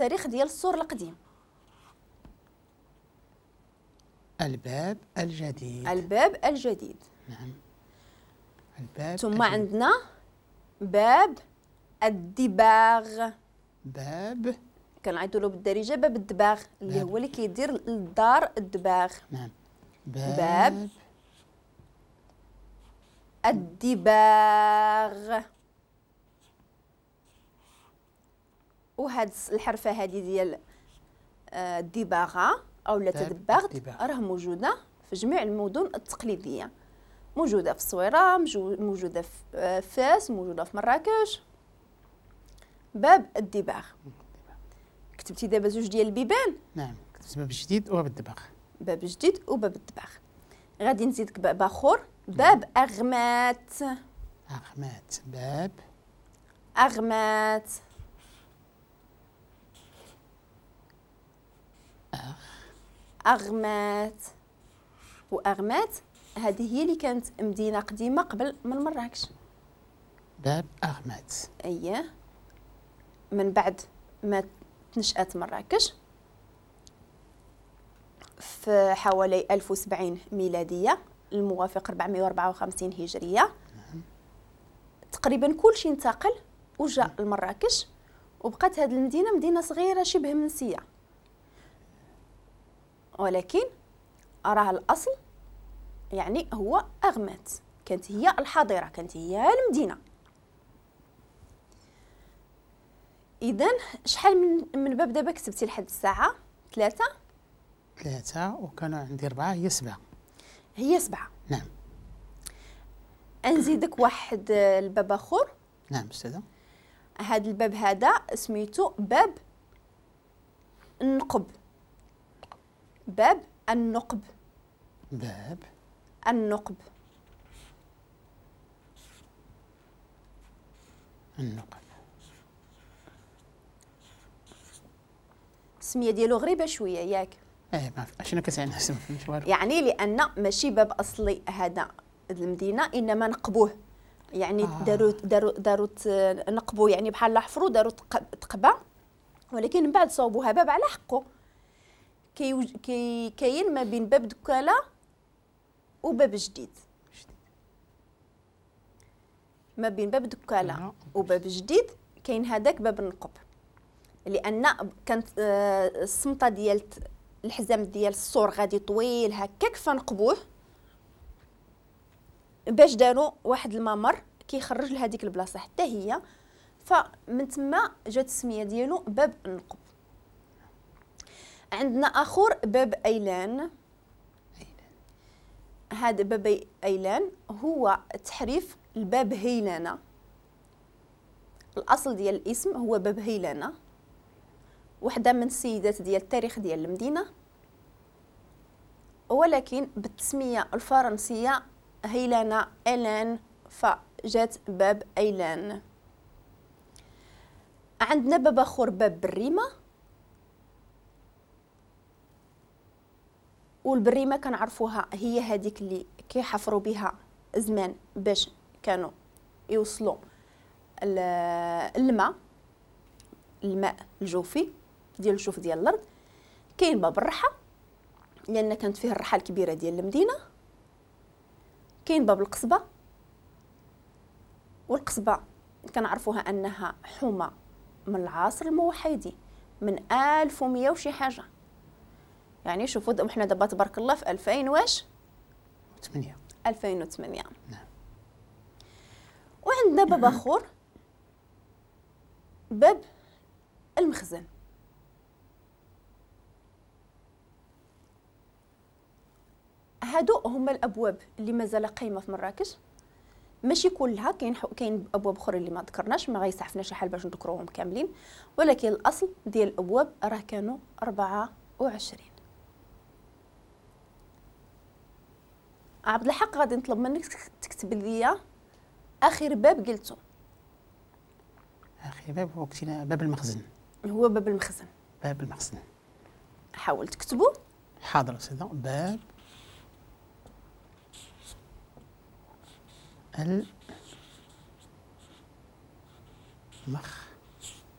التاريخ ديال السور القديم. الباب الجديد. الباب الجديد. نعم. الباب. ثم الجديد. عندنا باب الدباغ. باب كنعيطوا له بالدارجة باب الدباغ اللي هو اللي كيدير للدار الدباغ. نعم. باب الدباغ. وهاد الحرفة هذه ديال الدباغه او لا تدباغ راه موجودة في جميع المدن التقليدية، موجودة في الصويره، موجودة في فاس، موجودة في مراكش. باب الدباغ. كتبتي دابا زوج ديال البيبان. نعم، كتبت باب جديد وباب الدباغ. باب جديد وباب الدباغ. غادي نزيدك باب اخر، باب اغمات. اغمات. باب اغمات. اغمات. واغمات هذه هي اللي كانت مدينة قديمة قبل من مراكش. باب اغمات. اييه، من بعد ما تنشأت مراكش في حوالي 1070 ميلادية الموافق 454 هجرية. نعم. تقريبا كل شيء انتقل وجاء لمراكش، وبقات هذه المدينة مدينة صغيرة شبه منسية، ولكن راه الأصل يعني هو أغمات، كانت هي الحاضرة، كانت هي المدينة. إذن شحال من باب دابا كتبتي لحد الساعة؟ 3. 3 وكانوا عندي 4، هي 7. هي 7. نعم. نزيدك واحد الباب آخر. نعم أستاذة. هذا الباب هذا سميتو باب النقب. باب النقب. باب النقب. النقب. السمية ديالو غريبة شوية ياك؟ ايه ما شنو كتعني؟ ما فهمتش والو. يعني لان ماشي باب اصلي هذا المدينة، انما نقبوه، يعني داروا داروا داروا نقبوا، يعني بحال حفروا داروا تقبه، ولكن من بعد صوبوها باب على حقه. كي كاين ما بين باب دكاله وباب جديد. ما بين باب دكاله وباب جديد كاين هذاك باب النقب، لان كانت السمطه ديال الحزام ديال السور غادي طويل هكاك، فنقبوه باش داروا واحد الممر كيخرج لهذيك البلاصة حتى هي، فمن تما جات السمية ديالو باب النقب. عندنا اخر باب ايلان. هذا باب ايلان هو تحريف الباب هيلانه. الاصل ديال الاسم هو باب هيلانه، وحده من السيدات ديال التاريخ ديال المدينة، ولكن بالتسميه الفرنسية هيلانه الان، فجات باب ايلان. عندنا باب اخر باب بريمه، والبريمه كنعرفوها هي هذيك اللي كيحفروا بها زمان باش كانوا يوصلوا الماء، الماء الجوفي ديال الجوف ديال الارض. كاين باب الرحى لان كانت فيه الرحى الكبيرة ديال المدينة. كاين باب القصبة، والقصبه كنعرفوها انها حومه من العصر الموحدي من 1100 وشي حاجة، يعني شوفوا حنا دابا تبارك الله في 2008. 2008. نعم. وعندنا باب اخر باب المخزن. هادو هما الابواب اللي مازال قايمة في مراكش، ماشي كلها، كاين ابواب اخرين اللي ما ذكرناش، ما غيسعفناش الحال باش نذكروهم كاملين، ولكن الاصل ديال الابواب راه كانوا 24. عبد الحق غادي نطلب منك تكتب لي اخر باب قلته. اخر باب هو باب المخزن. هو باب المخزن. باب المخزن. حاول تكتبه. حاضر استاذه. باب المخزن.